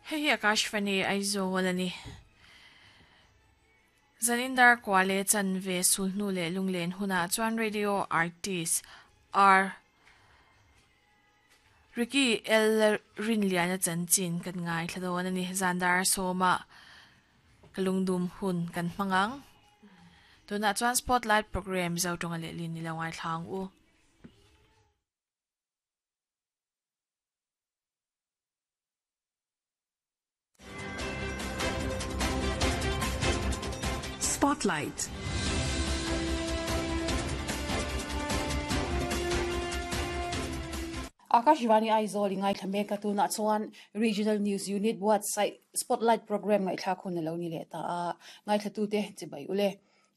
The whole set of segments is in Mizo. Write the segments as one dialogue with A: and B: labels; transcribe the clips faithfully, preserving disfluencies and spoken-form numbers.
A: Hei hi Akashvani Aizawl ani. Zanindar kwale chanve sulhnu le lunglen huna chuan radio artist R Ricky L Rinliana chanchin kan ngai thladon ani Zandar Soma kalungdum hun kan mangang tuna chuan spotlight program zo tonga le lin ni lo ngai thlang u.
B: Spotlight.
C: Akashvani Aizawl ngai thlame ka tuna chuan Regional News Unit website Spotlight program ngai thla khun lo ni le ta a ngai thlatu te chibai ule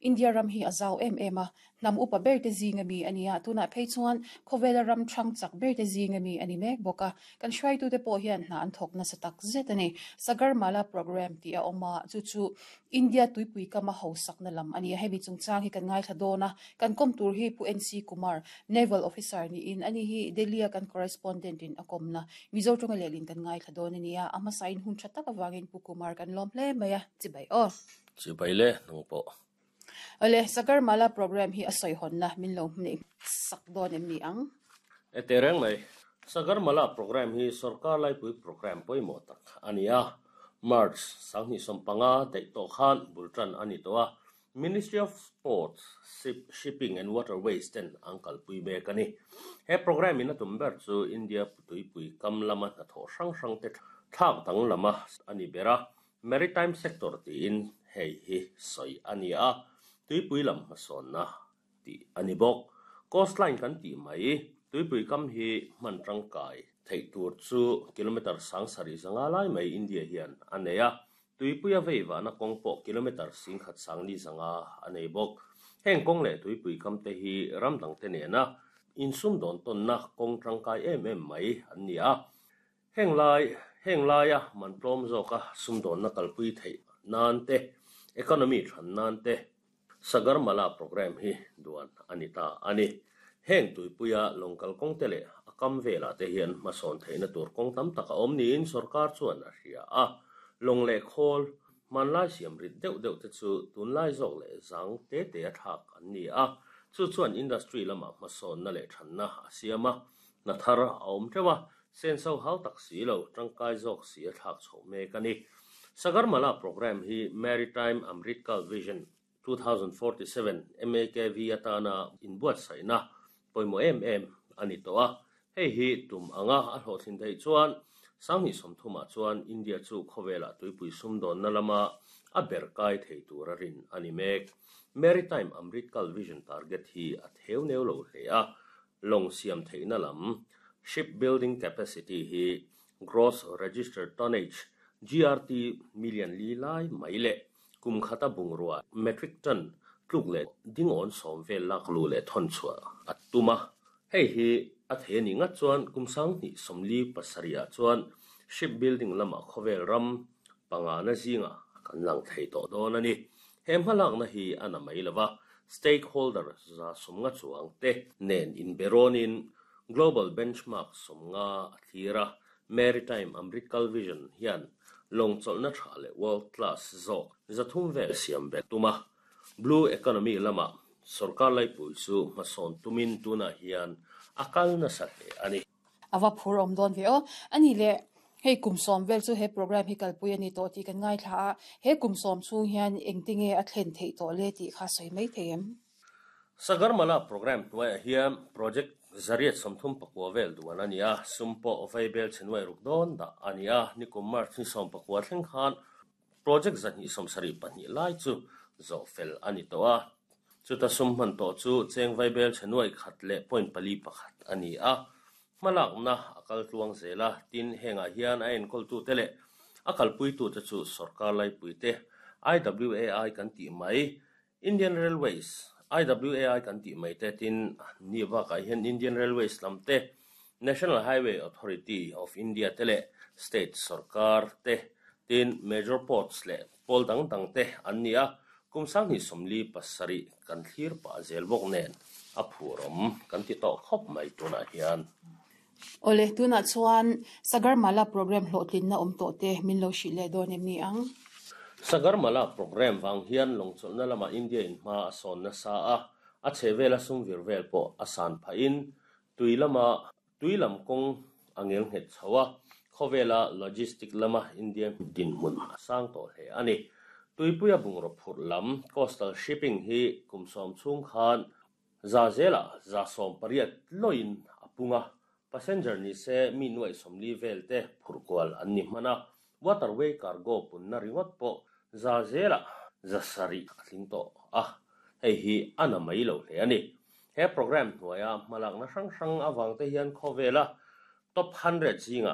C: India ram hi azau em em a nam upa ber te zinga mi ania tuna phei chuan khowela ram thang chak ber te zinga mi ani mek boka kan hruai tu te pawh hian hna an thawk na satak zet ani Sagarmala program ti a awma chu chu India tuipui kama ho sakna lam ani hemi chungchang hi kan ngai thla dawna kan kom tur hi Pu N C Kumar Naval Officer ni in ani hi Delhi kan correspondent in akomna Mizo tonga lelin kan ngai thla dawn ania ama sign hun tha tak awangin Pu Kumar kan lawm hle mai a chibai aw
D: chibai le nang pawh.
C: Ale Sagarmala program hi asoi hon na min lo ni sak don em ni ang
D: e tereng mai Sagarmala program hi sarkar lai pui program poimo tak ania March sangni sompanga dei to khan bultran ani to a Ministry of Sports Shipping and Waterways ten angkal pui be kani he program in atumber chu India putui pui kam lama na tho sang sang te thak tang lama ani bera maritime sector ti in hei hi soi ania tuipui lam hmasawn na ti ani bawk coastline kan ti mai tuipui kam hi hman tangkai thei tur chu kilometer sang sari zanga lai mai India hian a nei a tuipui a veiva na kawng pawh kilometer sing khat sang ni zanga a nei bawk heng kawng leh tuipui kam te hi ram dang te nena insum dawn tawn na kawng tangkai em em mai an ni a heng lai heng laia man tlawm zawka sumdawn na kalpui theih nan te economy than nan te Sagarmala program hi duan anita ani heng tuipuia longkal kawng te leh a kam vela te hian hmasawn theihna tur kawng tam tak a awm niin sarkar chuan a hria a lawng leh khawl hmanlai siam rit deuh deuh te chu tunlai zawk leh zang te te a thlak an ni a chu chuan industry lamah hmasawn na leh thanna a siam a na thar a awm teuh a senso hau tak si lo tangkai zawk si a thlak chho mek ani Sagarmala program hi Maritime Amritkal Vision twenty forty-seven M A K V atana inbuat saina poimo em em ani to a hei hi tum anga a hlawhthlin thei chuan sangni somthuma chuan India chu khawvela tuipui sumdawn na lama a ber kai thei tur a rin ani mek Maritime Amritkal Vision target hi a theu neu lo hle a long siam theihna lam shipbuilding capacity hi gross registered tonnage G R T million li lai mai le kum khata bungrua metric ton tluk le dingon som vel lak lu le thon chua atuma hei hi a the ni nga chuan kum sang ni somli pasaria chuan shipbuilding lama khawvel ram panga na zinga kan lang thei to don ani he hmalak na hi ana mai lova stakeholder za somnga chuang te nen in beronin global benchmark somnga athira Maritime Amritkal Vision hian long chawlhna tha leh world class zawk zathum vel siam bet tuma blue economy lama sarkar laipui chu hmasawn tumin tuna hian a kal nasa hle ani
C: awa phur awm dawn ve aw ani le hei kum sawm vel chu he program hi kalpui ani tawh tih kan ngai thla a he kum sawm chhung hian engtinge a thlen theih tawh le tih kha sawi mai thei em
D: Sagarmala program hnuaiah hian project zariat sawmthum pakua vel duan ani a sumpawh vaibel chenwai ruk dawn dah ani a nikum March ni sawm pakua thleng khan project zahnih sawmsarih pahnih lai chu zawh fel ani tawh a chuta sum hman tawh chu cheng vaibel chenwai khat leh point pali pakhat ani a hmalakna a kal tluang zela tin hengah hian a enkawl tu te leh a kalpui tu te chu sarkar laipui te I W A I kan tih mai Indian Railways I W A I kan tih mai te tin ni bakah hian Indian Railways lam te National Highway Authority of India te leh state sarkar te tin major ports leh pawl dang dang te an ni a kum sangni somli pasarih kan thlir pah zel bawk nen a phurawm kan ti tawh khawp mai tunah hian.
C: Ole tuna chuan Sagarmala program hlawhtlin na awm tawh te min lo hrilh leh dawn em ni ang.
D: Sagarmala program wang hian lawngchawlhna lama India in hma a sawn nasa a a chhehvela sum vir vel pawh a san phahin tui lama tui lam kawng a ngel nghet chho a khawvela logistic lama India dinhmun a sang tawh hle ani tuipuia bungraw phurh lam coastal shipping hi kum sawm chhung khan za zela za sawm pariat loin a punga passenger ni se mi nuai sawmli vel te phurh kual an ni hmana waterway cargo punna ringawt pawh za zela za sarih a tling tawh a hei hi a na mai lo hle ani he program hnuaia hmalakna hrang hrang awang te hian khawvela top hundred zinga